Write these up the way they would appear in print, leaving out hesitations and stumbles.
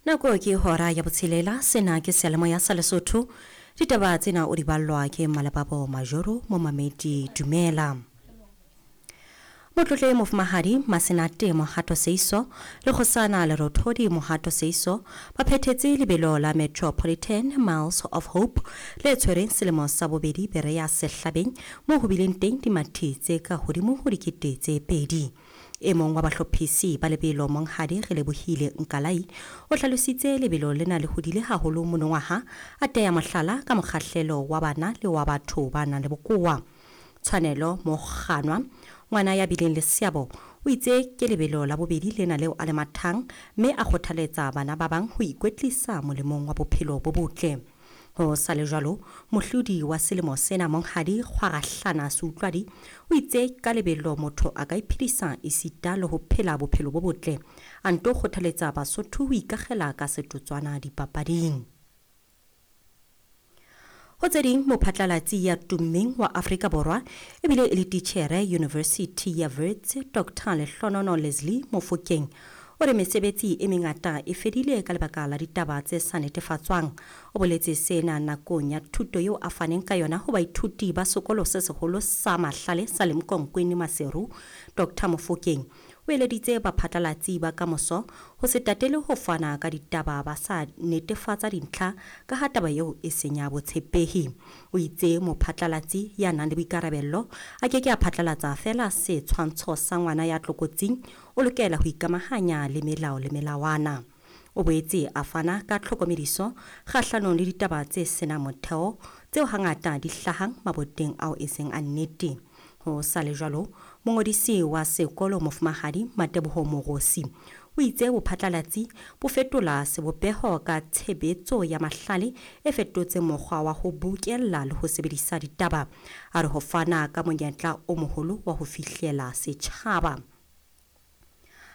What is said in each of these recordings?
Nako ke hora ya botshelela, sena ke seyalemoya sa Lesotho. Ditaba tsena o di ballwa ke Malebabo Majoro, momamedi dumela. Motlotle Mofumahadi Masenate Mohato Seiso le Kgosana Lerothodi Mohato Seiso ba phethetse lebelo la Metropolitan Miles of Hope le tshwereng selemo sa bobedi Berea Sehlabeng moo ho bileng teng dimathi tse ka hodimo ho 2000. E mong wa bahlophisi ba lebelo Monghadi Relebohile Nkalai o hlalositse lebelo lena le hodile haholo monongwaha, a teya mohlala ka mokgahlelo wa bana le wa batho ba nang le bokowa. Tshwanelo Mokganwa, ngwana ya bileng le seabo, o itse ke lebelo la bobedi lena leo a le mathang mme a kgothaletsa bana ba bang ho ikwetlisa molemong wa bophelo bo botle. Ho sa le jwalo, mohlodi wa selemo sena Monghadi Kgwarahlana Seutlwadi o itse ka lebelo motho a ka iphedisa esita le ho phela bophelo bo botle. A nto kgothaletsa Basotho ho ikakgela ka setotswana dipapading. Ho tse ding, mophatlalatsi ya tummeng wa Afrika Borwa ebile e le titjhere University ya Wits, Dr. Lehlonono Leslie Mofokeng, o re mesebetsi e mengata e fedile ka lebaka la ditaba tse sa netefatswang. O boletse sena nakong ya thuto eo a faneng ka yona ho baithuti ba sekolo se seholo sa Mahlale sa Lemkonkwini Maseru. Dr. Mofokeng o eleditse baphatlalatsi ba kamoso ho se tatele ho fana ka ditaba ba sa netefatsa dintlha ka ha taba eo e senya botshepehi. O itse mophatlalatsi ya nang le boikarabello a ke ke a phatlalatsa feela setshwantsho sa ngwana ya tlokotsing, o lokela ho ikamahanya le melao le melawana. O boetse a fana ka tlhokomediso kgahlanong le ditaba tse senang motheo tseo hangata di hlahang maboteng ao e seng a nnete. Ho sa le jwalo, mongodisi wa sekolo Mofumahadi Mateboho Morosi o itse bophatlalatsi bo fetola sebopeho ka tshebetso ya mahlale e fetotseng mokgwa wa ho bokella le ho sebedisa ditaba. A re ho fana ka monyetla o moholo wa ho fihlela setjhaba.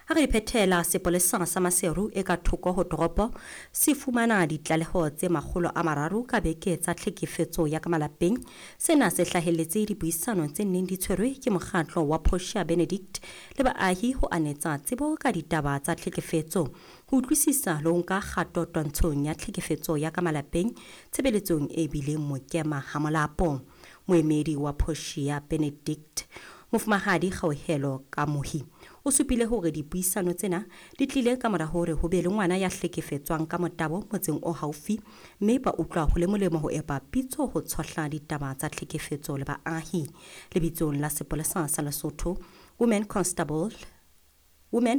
Ha re phethela, sepolesa sa Maseru e ka thoko ho toropo se fumana ditlaleho tse 300 ka beke tsa tlhekefetso ya ka malapeng. Sena se hlahelletse dipuisanong tse neng di tshwerwe ke mokgatlo wa Portia Benedict le baahi ho anetsa tsebo ka ditaba tsa tlhekefetso, ho utlwisisa le ho nka kgato twantshong ya tlhekefetso ya ka malapeng tshebeletsong e bileng mokema ha molapo. Moemedi wa Portia Benedict, Mofumahadi Kgauhelo Kamohi, o supile hore dipuisano tsena di tlile ka mora hore ho be le ngwana ya hlekefetswang ka motabo motseng o haufi, mme ba utlwa ho le molemo ho epa pitso ho tshohla ditaba tsa tlhekefetso le baahi. Lebitsong la sepolesa sa Lesotho, Women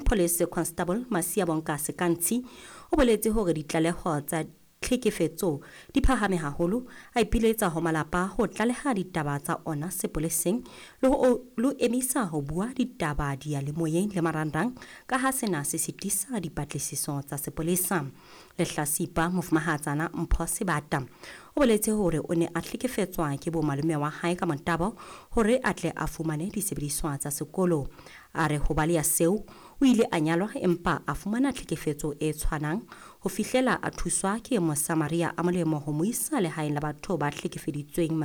Police Constable Masia Bonka Sekantshi o boletse hore ditlaleho tsa tlhekefetso di phahame haholo, a ipiletsa ho malapa ho tlaleha ditaba tsa ona sepoleseng le ho emisa ho bua ditaba diyalemoyeng le marangrang ka ha sena se sitisa dipatlisiso tsa sepolesa. Lehlasipa Mofumahatsana Mpho Sebata o boletse hore o ne a hlekefetswa ke bo malome wa hae ka motabo hore a tle a fumane disebediswa tsa sekolo. A re ho baleha seo o ile a nyalwa empa a fumana tlhekefetso e tshwanang ho fihlela a thuswa ke Mosamaria a molemo ho mo isa lehaeng la batho ba hlekefeditsweng.